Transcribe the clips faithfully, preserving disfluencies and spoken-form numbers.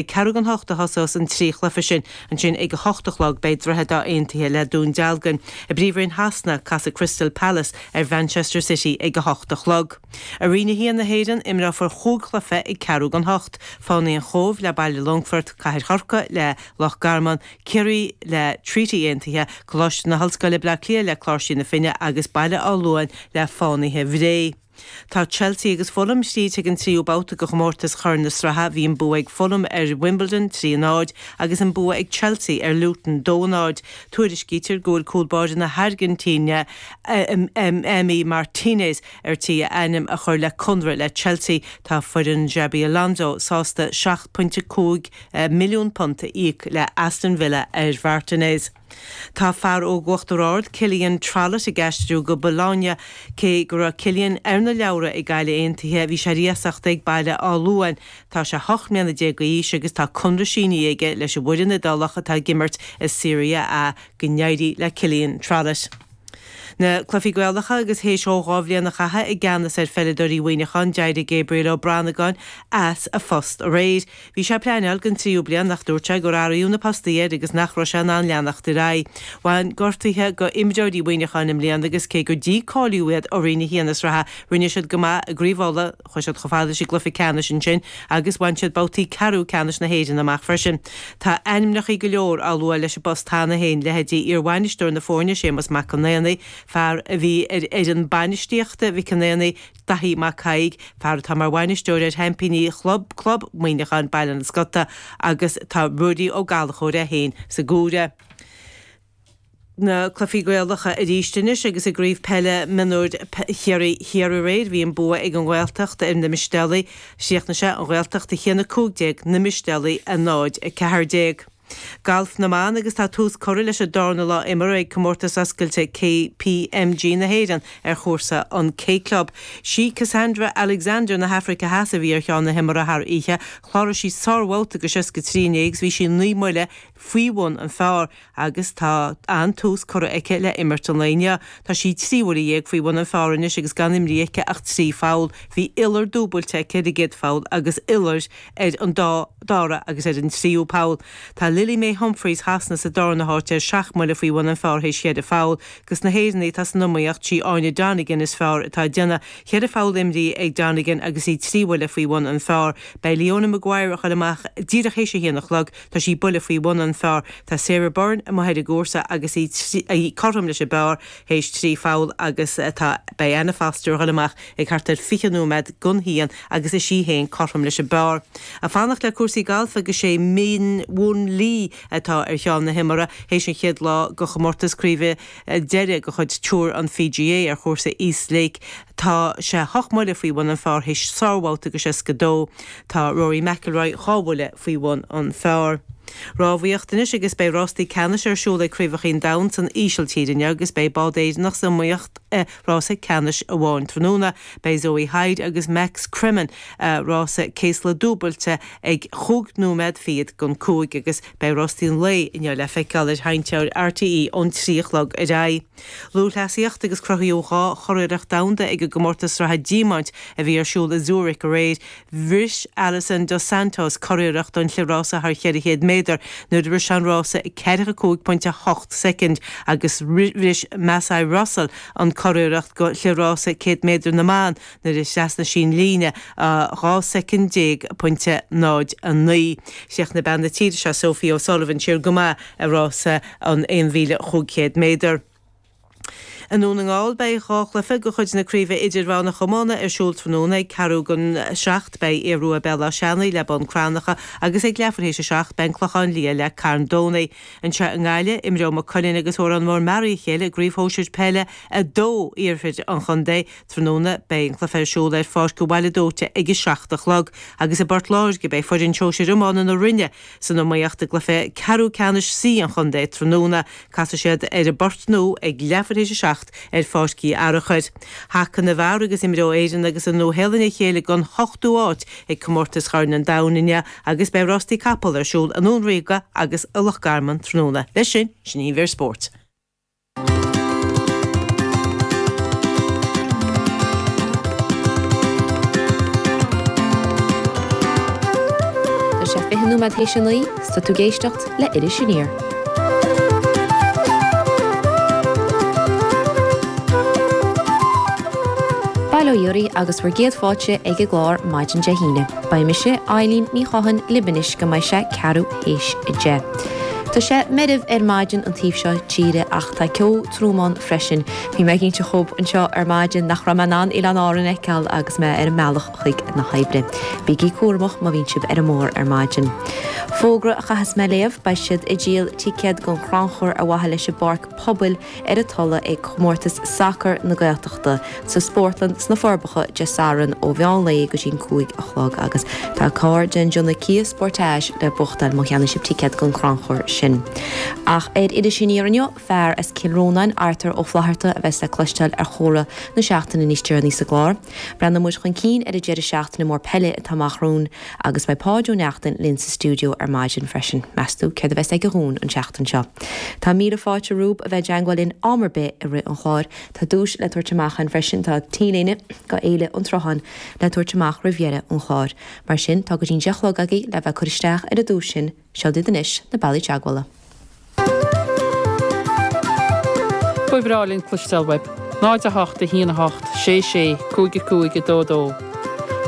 Ag ceathrú don hocht a thosós an trí chluiche sin. Ansin ag a hocht a chlog beidh Droichead Átha Aontaithe le Dún Dealgan. I bPríomhroinn Shasana, casfaidh Crystal Palace ar Mhanchester City ag a hocht a chlog. I Roinn a haon na hÉireann, imreofar chúig chluiche ag ceathrú don hocht, Fánaí an Chóibh le Baile Longfoirt, Cathair Chorcaí le Loch Garman, Ciarraí le Treaty Aontaithe, Coláiste na hOllscoile Bleá Cliath le Cláirsigh na Finne agus Baile Átha Luain le Fánaithe Bhré. Tá Chelsea agus Fulham tríd chuig an tríú babhta de chomórtas Chorn na Sraithe. Bhí an bua ag Fulham ar Wimbledon trí a náid agus an bua ag Chelsea ar Luton dó a náid. Tuairiscítear go bhfuil cúl báire na hAirgintíne Emi Martinez ar tí a ainm a chur le conradh le Chelsea. Tá foireann Xabi Alonso sásta seacht pointe cúig milliún punt a íoc le Aston Villa ar Mhartinez. Tá fear óg Uachtar Ard, Cillian Trollett ag aistriú go Bologna. Cé go raibh Cillian ar na leabhra ag Gaillimh Aontaithe, bhí sé ar iasacht ag Baile Átha Luain. Tá sé hocht mbliana déag d'aois agus tá conradh sínithe aige leis an bhfoireann Iodálach atá ag imirt i Serie A. Go n-éirí le Cillian Trollett. Na cluichí Gaelacha agus théis dó dhá bhliain a chaitheamh i gceannas ar pheileadóirí Mhuineacháin, d'éirigh Gabriel Ó Branagáin as a phost aréir. Bhí sé ag pleanáil don tríú bliain ach dúirt sé gur athraíodh na postaí air agus nach raibh sé in ann leanacht ar aghaidh. Bhain gortuithe go imreoirí Mhuineacháin i mbliana agus cé gur dícháilíodh iad ó Roinn a haon na sraithe, rinne siad go maith i gCraobh Uladh, chuaigh siad chomh fada leis an gcluiche ceannais ansin agus bhain siad babhtaí ceathrú ceannais na hÉireann amach freisin. Tá ainmneacha go leor á lua leis an bpost cheana féin, leithéidí iarbhainisteoir na foirne, Séamus Mac Con Aonaigh, fear a bhí ar fhoireann bainistíochta Mhic an Aonaigh, Daithí Mac Thaidhg, fear atá mar bhainisteoir ar sheaimpíní chlub Club Muineacháin, Baile an Scota, agus tá Ruairí Ó Gallchóir é féin sa gcomhaireamh. Na cluichí Gaelacha arís anois agus i gCraobh Peile Mionúir Chiarraí Thiar aréir bhí an bua ag an Ghaeltacht ar na Mistéalaigh. Chríochnaigh sé, An Ghaeltacht a haon a cúig déag, Na Mistéalaigh a náid a ceathair déag. Galf na mBan agus tá tús curtha leis an darna lá imeartha ag Comórtas Oscailte K P M G na hÉireann ar chúrsa an K Club. Sí Cassandra Alexander na hAfraice Theas a bhí ar cheann na himeartha thar oíche. Chláraigh sí sárbhabhta de seasca trí inné agus bhí sí naoi mbuille faoi bhun an phar agus tá an-tús curtha aici le imirt an lae inniu. Tá sí trí bhuille dhéag faoi bhun an phar anois agus gan imrithe aici ach trí pholl. Bhí iolar dúbailte aici ar an gcéad pholl agus iolar ar an dá dara agus ar an tríú poll. Tá Lily May Humphreys Shasana sa darna háit ar seacht mbuille faoi bhun an phar théis cheithre pholl. Dos na hÉireannaigh atá san iomaíocht sí Áine Donegan is fearr atá ag déanamh. Ceithre pholl imrithe ag Donegan agus í trí bhuille faoi bhun an phar. Beidh Leona Maguire ag dul amach díreach théis a haon a chlog, tá sí buille faoi bhun an phar. Tá Sarah Byrne amuigh ar an gcúrsa agus í í cothrom leis an bpar théis trí pholl agus tá beidh Anna Foster ag dul amach ag thart ar fiche nóiméad don haon agus is í féin cothrom leis an bpar. Ag fanacht le cúrsaí gailf agus sé Min Won Lee atá ar cheann na himeartha théis an chéad lá de chomórtas craoibhe deiridh de chuid Tour an P G A ar chúrsa East Lake. Tá sé hocht mbuille faoi bhun an phar théis sárbhabhta de seasca dó. Tá Rory McIlroy dhá bhuille faoi bhun an phar. Rámhaíocht anois agus beidh rástaí ceannais ar siúl ag Craobhacha an Domhain san Ísiltír inniu agus beidh bád Éireannach san iomaíocht i rása ceannais amháin tráthnóna. Beidh Zoe Hyde agus Max Cremin rása céasla dúbailte ag chúig nóiméad fichead don cúig agus beidh rástaí an lae inniu le feiceáil ar sheinnteoir R T E ón trí a chlog ar aghaidh. Lúthchleasaíocht agus cruthaíodh dhá churiarracht domhanda ag an gcomórtas sraithe Diamaint a bhí ar siúl i Zurich aréir. Bhris Alison dos Santos curiarracht don chliathrás thar cheithre chéad méadar nuair a bhris an rása ag ceathracha cúig pointe a hocht soicind agus bhris Masai Russell an curiarracht go chliathrása céad méadar na mban nuair a thrasnaigh sí an líne dhá soicind déag pointe náid a naoi. Chríochnaigh bean na tíre seo Sophie O'Sullivan siar go maith i rása an aon mhíle chúig chéad méadar. I nDún na nGall beidh dhá chluiche de chuid na craoibhe idirmheánach iomána ar siúl tráthnóna ag ceathrú don seacht beidh Aodh Rua Béal Átha Seanaidh le Bun Cranncha agus ag leathuair théis a seacht beidh an Clochán Liath le Carn Domhnach. Anseo i nGaillimh imreoidh Maigh Cuilinn agus Órán Mór Mearaí a chéile i gcraobh shóisir peile a dó iarthar an chontae. Tráthnóna beidh an cluiche ar siúl ar Pháirc an Bhaile Dóite ag a seacht a chlog agus i bPort Láirge beidh foireann shóisir iomána na Rinne san iomaíocht i gcluiche ceathrú ceannais C an chontae tráthnóna. Casfaidh siad ar an bPort Nua ag leathuair théis a seacht ar Pháirc Uí Fhearachair. Haca na bhfear agus imreoidh Éirinn agus an Nua-Shéalainn a chéile don hochtú háit ag comórtas Chorn an Domhain inniu agus beidh rástaí capall ar siúl i nDún Ríoga agus i Loch Garman tráthnóna. Leis sin, sin í an mhír spóirt. Tá sé fiche nóiméad théis a naoi, 's tá tú ag éisteacht le Iris Aniar. Bail ó Dhia oraibh agus bhur gcéad fáilte ag an gclár maidin Dé hAoine. Beidh mise, Eileen Ní Chatháin, libh anois go mbeidh sé ceathrú théis a deich. Tá sé meirbh ar maidin an taobh seo tíre ach tá ceo trom ann freisin. Bhí mé ag inse dhúibh anseo ar maidin nach raibh mé in ann Oileáin Árann a fheiceáil agus mé ar an mbealach chuig na hoibre. Bígí cúramach má bhíonn sibh ar an mbóthar ar maidin. Fógra a chaithfeas mé léamh, beidh siad ag díol ticéad don chrannchur ar mhaithe leis an bPáirc Pobail ar an Tulaigh ag Comórtas Sacair na Gaeltachta sa Spórtlann sna Forbacha Dé Sathairn ó mheán lae go dtí an cúig a chlog agus tá carr den déanamh Kia Sportage le buachtáil má cheannaíonn sibh ticéad don chrannchur sin. Ach ar Iris Aniar inniu, fear as Cill Rónáin, Arthur Ó Flatharta, a bheas le cloisteáil ar chomhrá na seachtaine níos deireanaí sa gclár. Breathnóidh muid chun cinn ar an deireadh seachtaine mór peile atá amach romhainn agus beidh Páid Ó Neachtain linn sa stiúideo ar maidin freisin. Meas tú céard a bheas ag an Dhún an tseachtain seo? Tá míle fáilte romhaibh a bheith i dteangmháil linn am ar bith i rith an chláir. Tá duais le tabhairt amach againn freisin, tá T-léine go Fhéile an tSrutháin le tabhairt amach roimh dheireadh an chláir. Mar sin, tá go dtí an deich a chlog agaibh le bheith ag cur isteach ar an duais sin. Seo daoibh anois na bealaí teagmhála. Ba bhreá linn cloisteáil uaibh. náid a hocht a haon a hocht sé sé cúig a cúig a dó dó.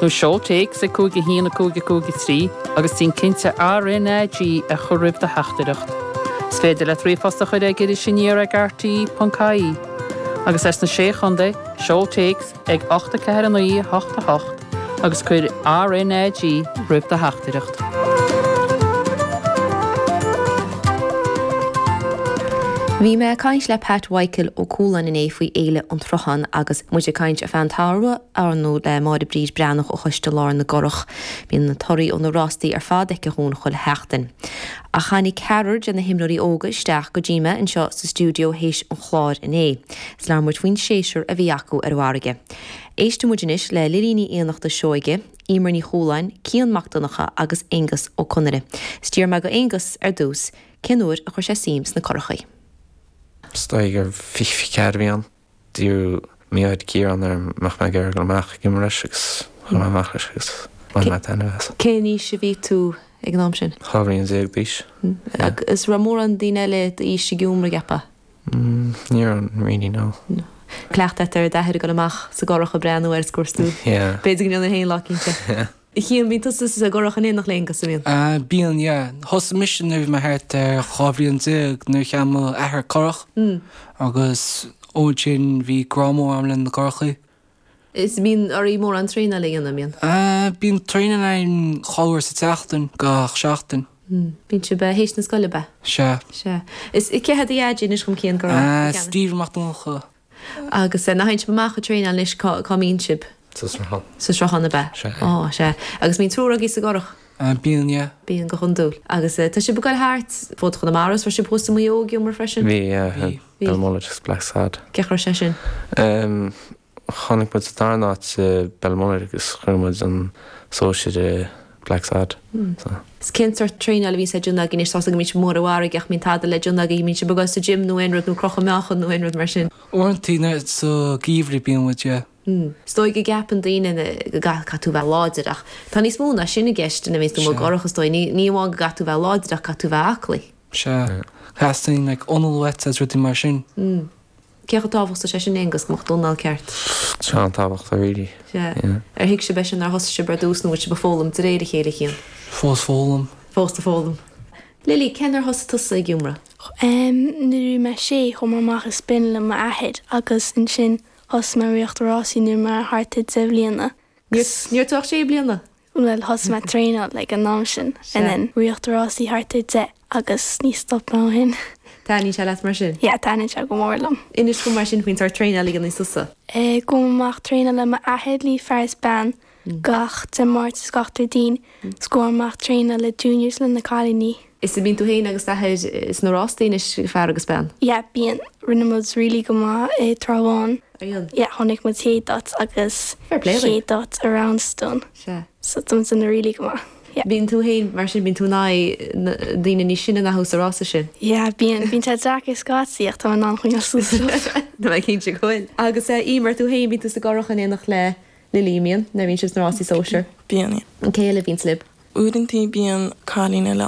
Nó seol téacs ag cúig a haon a cúig a cúig a trí agus déan cinnte RNAG a chur roimh do theachtaireacht. Is féidir leat ríomhphost a chur ag Iris Aniar ag rte ponc ie. Agus as na Sé Chontae, seol téacs ag ocht a ceathair a naoi a hocht a hocht agus cuir RNAG roimh do theachtaireacht. Bhí mé ag caint le Pat Mhichael Ó Cualáin inné faoi Fhéile an tSrutháin agus muid ag caint ar feadh an tsamhraidh ar ndóigh le Máire Bríd Breathnach ó Choiste Lár na gCurrach. Bíonn na torthaí ó na rástaí ar fad aici dhúinn chuile sheachtain. Ach tháinig ceathrar de na himreoirí óga isteach go dtí mé anseo sa stiúideo théis an chláir inné. Is labhair muid faoin séasúr a bhí acu ar an bhfarraige. Éistfidh muid anois le Lilí Ní Fhiannachta Seoige, Emer Ní Chualáin, Cian Mac Donncha agus Aonghus Ó Conaire. Is d'iarr mé go Aonghus ar dtús cén uair a chuir sé suim sna curachaí. Is dóigh gur fiche fiche ceathair a bhí ann. D'iarr m'athair Ciarán orm an mbeadh mé ag iarraidh dul amach ag imirt leis agus chuaigh mé amach leis agus bhain mé taitneamh as. Cén aois a bhí tú ag an am sin? Dhá bhliain déag d'aois. Agus raibh mórán daoine eile d'aois ag iomramh, cheapfá? Ní raibh really, no. Cleachtadh ar d'athair ag dul amach sa gcurach ag breathnú air is gur tú. B'fhéidir go ndéanfainn féin lá cinnte. Cian, bíonn tusa sa gcurach in éineacht le Aonghus, an mbíonn? Bíonn, yeah. Thosaigh mise nuair a bhí mé thart ar dhá bhliain déag nuair a cheannaigh mo athair curach agus ó sin bhí grá mór agam le na curachaí. Is bíonn oraibh mórán traenáil a dhéanamh, an mbíonn? Bíonn traenáil againn dhá uair sa tseachtain, gach seachtain. Bíonn sibh théis na scoile, ab ea? Sea. Sea. Is cé hé do dhaid, inis dhom Cian go raibh? Stephen Mac Donncha. Agus nuair a théann sibh amach ag traenáil anois, cá cá mbíonn sibh? Sa sruthán. Sa sruthán ab ea? Sea. Ó, sea. Agus mbíonn triúr agaibh sa gcurach? Bíonn, yeah. Bíonn, go hiondúil. Agus tá sibh ag goil thart fud Chonamara, is raibh sibh thuas i Maigh Eo ag iomramh freisin? Bhí, yeah. Bhí. Belmullet agus Blacksod. Cén chaoi a raibh sé sin? Chonaic muid sa darna háit i Belmullet agus chuir muid an sóisir i Blacksod. So. Is cén sórt traenáil a bhíonns le déanamh agaibh anois? Tá's agam go mbíonn sibh mór ar an bhfarraige ach mbíonn tada le déanamh agaibh, mbíonn sibh ag dul sa gym nó aon rud nó crochadh meáchan nó aon rud mar sin? Uaireanta sa gheimhreadh bíonn muid, yeah. Is dóigh go gceapann daoine go gcaithfidh tú bheith láidir ach tá níos mó ná sin i gceist nuair a bhíonns tú amuigh i gcurach is dóigh. Ní amháin go gcaithfidh tú bheith láidir ach caithfidh tú bheith aclaí. Sea. Teastaíonn like anáil uait agus rudaí mar sin. Cé chomh tábhachtach is é sin Aonghus, go mbeadh d'anáil ceart? Tá sé an-tábhachtach really. Sea. Ar thuig sibh é sin nuair a thosaigh sibh ar dtús nó bhfuil sibh ag foghlaim de réir a chéile a Chian? Fós foghlaim. Fós ag foghlaim. Lily, cén uair a thosaigh tusa ag iomramh? Nuair a bhí mé sé, chuaigh mé amach ag spin le m'athair agus ansin Thosaigh mé ag ritheacht rásaí nuair mé thart ar deich mbliana. Ní raibh tú ach sé bliana? Bhuel, thosaigh mé ag traenáil ag an am sin and then ritheacht rásaí thart ar deich agus ní stop mé ó shin. Taitníonn sé leat mar sin? Yeah, taitníonn sé go mór liom. Inis dom mar sin faoin sórt traenáil a dhéanann tusa. Gabhaim amach traenáil le m'athair le fear is bean gach Dé Máirt is gach Déardaoin is gabhaim amach traenáil le juniors le na cailíní. Is bíonn tú féin agus d'athair sna rástaí anois, fear agus bean? Yeah, bíonn. Rinne muid really go maith i dTrá Bháin. Ar Yeah, tháinig muid chéad áit agus Fair play chéad áit i Roundstone. Sea. So tá muid ina really go maith. Yeah. Bíonn tú féin, mar sin, bíonn tú in aghaidh na daoine níos sine ná thú sa rása sin? Yeah, bíonn. Bíonn sé deacair scaití ach tá mé in ann coinneáil suas leo. Tá mé cinnte go bhfuil. Agus Emer, tú féin, bíonn tú sa gcurach in éineacht le Lily, an mbíonn? Nuair a bhíonn sibh sna rásaí sóisir? Bíonn, yeah. An cé eile a bhíonns libh? Uaireanta bíonn cailín eile